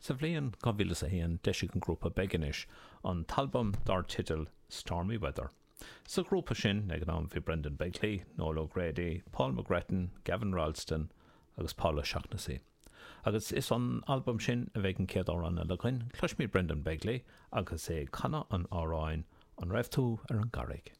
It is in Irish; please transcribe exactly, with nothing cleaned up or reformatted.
Sa bhliain dhá mhíle is a haon d'eisigh an grúpa Begonish an t-albam dar teideal Stormy Weather. Sa ghrúpa sin ag an am bhí Brendan Begley, Noel O'Grady, Paul McGrettan, Gavin Ralston agus Paul O'Shaughnessy. Agus is ón albam sin a bheidh an chéad amhrán eile againn, cloisfimid Brendan Begley agus é ag canadh an amhráin An raibh tú ar an gcarraig.